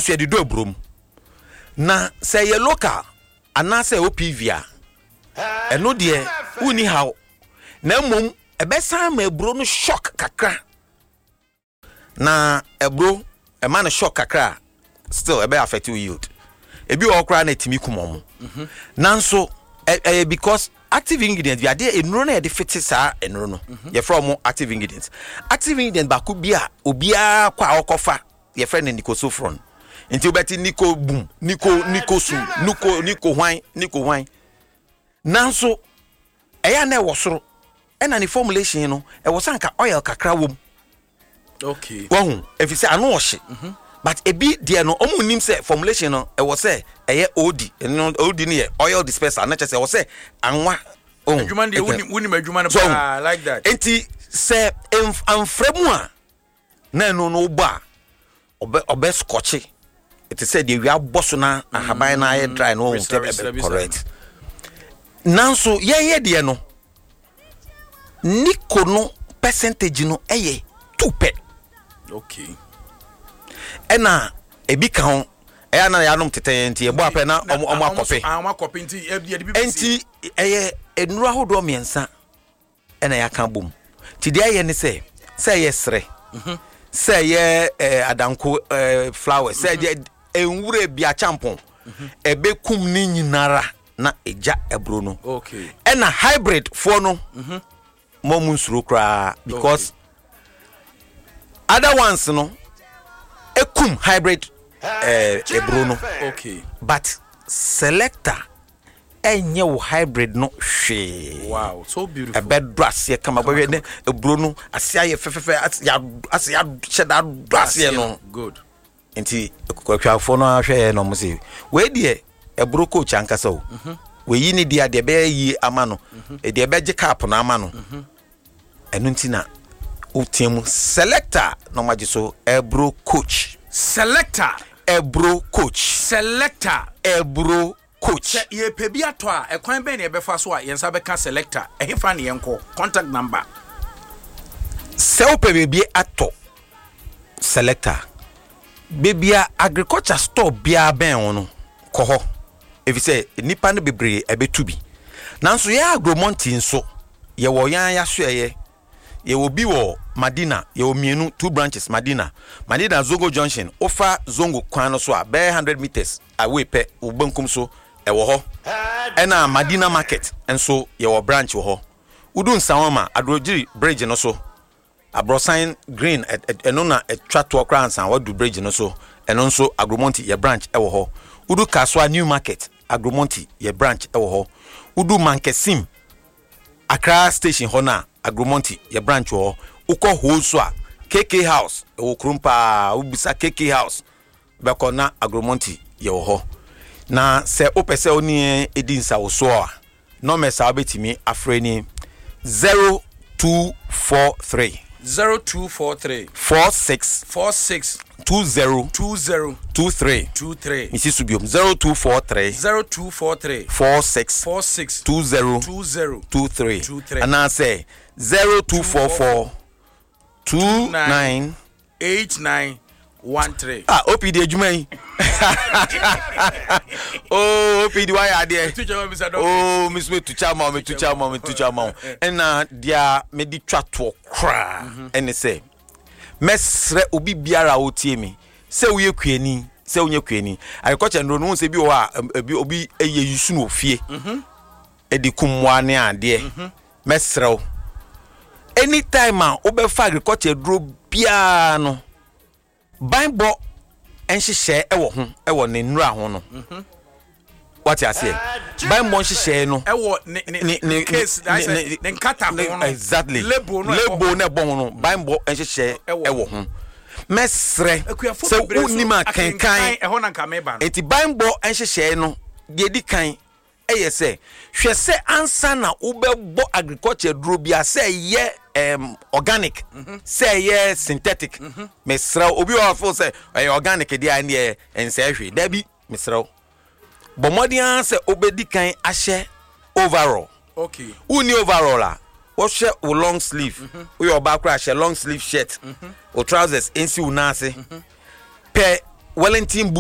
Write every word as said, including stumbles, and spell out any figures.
Nanso yɛde dɔ aburo mu na sɛ ɛyɛ local anaasɛ O P V a, ɛno deɛ wonni haw, na mmom ɛbɛsan ma aburo no shock kakra. Na aburo ɛma no shock kakra a, still ɛbɛ affect wo yield. Ebi wɔ hɔ koraa na ɛtumi kum ɔmo. Nanso ɛ- ɛyɛ because active ingredient bi adeɛ nnuro no yɛde fete saa nnuro no, yɛfrɛ ɔmo active ingredients. Active ingredient baako bi a obiara kɔ a ɔkɔfa, yɛfrɛ no nicosulfuron. Nti wobɛte nico boom, nico nico sum, nico nico hwan, nico hwan. Nanso ɛyɛ a na ɛwɔ soro, ɛna ne formulation no ɛwɔ sɛ anka oil kakra wɔ mu. Okay wahu, ɛfiri sɛ ano ɔhye. But ebi deɛ no, ɔmo nim sɛ formulation no ɛwɔ sɛ ɛyɛ O D. Ɛno O D no yɛ oil disperser na kyerɛ sɛ ɛwɔ sɛ anwa ohun. Adwuma no deɛ, wonim wonim adwuma no So, paa like that. Nti sɛ mf- amfrɛ mu a, na ɛno no wobɔ a, ɔbɛ ɔbɛ scorch ɛte sɛ deɛ wia bɔ so na ahaban na ayɛ dry no ohun. Resra, sɛ resra ɛbɛ bi saa. Correct. Nanso yɛn yɛ deɛ no, nico no percentage no ɛyɛ two pɛ. Okay ɛna ebi ka ho, ɛyɛ ana yɛanom tetɛ yɛn nti yɛbɔ apɛ na ɔmo ɔmo akɔpɛ. Ah, ɔmo akɔpɛ nti yɛde yɛde bi bɛsi. Nti ɛyɛ nnuro ahodoɔ mmiɛnsa ɛna yɛaka bom. Nti deɛ ɛyɛ ne sɛ sɛ ɛyɛ serɛ, sɛ ɛyɛ ɛɛ adanko ɛɛ flowers, sɛ ɛyɛ nwura bi akyampɔn, ɛbɛkum ne nyinara na ɛgya aburo no. Okay ɛna hybrid foɔ no mo mu nsuro koraa because other ones no ekum hybrid ɛɛ eburo no. Okay but Selector ɛnyɛ wo hybrid no hwee. Wow, so beautiful. Ɛbɛdɔ aseɛ kama. Bɛhwɛ ne eburo no ase ayɛ fɛfɛɛfɛ, ase ya ase yahyɛ da dɔ aseɛ no. Good. Nti akuafoɔ no ahwɛ yɛ na ɔmo sɛ wei deɛ, ɛburo coach ankasa o, wei ne deɛ deɛ ɛbɛyɛ yie ama no, deɛ ɛbɛgye cap no ama no. Ɛno nti na wotia mu Selector na ɔmo agye so ɛburo coach. Selector. Ɛburo coach. Selector. Ɛburo coach. Sɛ yɛpɛ bi atɔ a, ɛkwan bɛn na yɛbɛfa so a yɛn nsa bɛka Selector? Ɛhefa ne yɛnkɔ? Contact number? Sɛ wopɛ baabi atɔ Selector, baabi a agriculture store biara bɛn wo no, kɔ hɔ, ɛfiri sɛ nnipa no bebree ɛbɛtu bi. Nanso yɛn Agromonti nso yɛwɔ yɛn yɛasoɛyɛ. Yɛwɔ bi wɔ Madina, yɛwɔ mmienu, two branches. Madina, Madina Zongo Junction, wofa Zongo kwan no so a, bɛyɛ hundred meters away pɛ, wo benkum so ɛwɔ hɔ. Ɛna Madina Market nso yɛwɔ branch wɔ hɔ. Wodu Nsawama Adrogyiri bridge no so, aborɔsan green ɛ- ɛ- ɛno na ɛtwa toɔ koraa nsa wadu bridge no so, ɛno nso Agromonti yɛ branch ɛwɔ hɔ. Wodu Kasoa New Market, Agromonti yɛ branch ɛwɔ hɔ. Wodu Mankesim Accra Station hɔ no a, Agromonti yɛ branch wɔ hɔ. Wokɔ Ho so a, K K House ɛwɔ kurom paa, wobisa K K House bɛkɔ na Agromonti yɛwɔ hɔ. Na sɛ wopɛ sɛ wo ne yɛn ɛdi nsawosoɔ a, numbers a wobɛtumi afrɛ ni: zero two four three zero two four three four six four six two zero two zero two three. two three. Mesi so biom: zero two four three zero two four three four six four six two zero two zero two three. two three. Anaasɛ zero two four four two nine eight nine one three. Ah, O P D adwuma yi oh, O P D wayɛ adeɛ oh, mi nso metu kya ma wo, metu kya ma wo, metu kya ma wo. Ɛna deɛ mede twa toɔ koraa ɛne sɛ mɛsrɛ obi biara a ɔtie mi sɛ woyɛ kuani, sɛ wonyɛ kuani, agriculture nduro no ho sɛ bi wɔ hɔ a ɛm, ebi obi ɛyɛ yusu no wɔ fie ɛde kum mmoa ne adeɛ. Mɛsrɛ wo, anytime a wobɛfa agriculture duro biara no, banbɔ nhyehyɛɛ ɛwɔ ho, ɛwɔ ne nnura ho no, wate aseɛ? Banbɔ nhyehyɛɛ no ɛwɔ ne ne ne ne case ne ne ne nkata ho no. Exactly. Label no ɛwɔ label no ɛbɔ ho no, banbɔ nhyehyɛɛ ɛwɔ ɛwɔ ho. Mɛsrɛ Akuafo sɛ bebree nso wonim akenkan. Ɛhɔ na nka meba no. Nti banbɔ nhyehyɛɛ no deɛ di kan ɛyɛ sɛ hwɛ sɛ ansa na wobɛbɔ agriculture duro bi a, sɛ ɛyɛ um, organic, sɛ ɛyɛ synthetic, mesrɛ wo, obi wɔ hɔ sɛ ɛyɛ organic deɛ a, ɛneɛ ɛnsɛe hwee. Dabi, mesrɛ wo, bɔ mmɔden ara sɛ wobɛdi kan ahyɛ overall. Okay wonni overall a, wɔhyɛ wo long sleeve. Woyɛ ɔbaa koraa, hyɛ long sleeve shirt, wo trousers nsi wo nan ase, pɛ wellington boot.